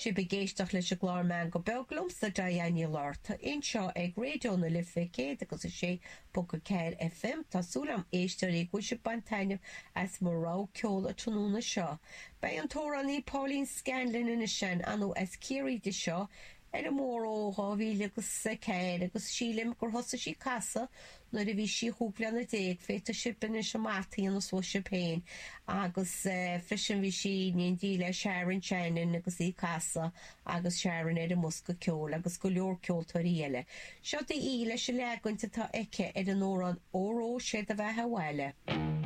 Sibh ag éisteacht leis an gclár Meangadh Beag liomsa, Diane Ní Fhlatharta, anseo ag Raidió na Life 106.4 FM. Tá súil agam, a éisteoirí, go bhfuil sibh ag baint taitneamh as mo rogha ceoil an tráthnóna seo. Beidh an t-amhránaí Pauline Scanlon anois ann, ar ndóigh as Ciarraí di seo, ar an mbóthar ó 2004 agus sílim gur thosaigh sí ag casadh nuair a bhí sí chúig bhliana déag, féadfaidh sibh anois an mata a dhéanamh suas sibh féin agus freisin bhí sí in éindí le Sharon Shannon agus í ag casadh agus Sharon ar an mbosca ceoil agus go leor ceoltóirí eile. Seo daoibh í leis an leagan atá aici ar an amhrán Óró Sé do Bheatha Abhaile.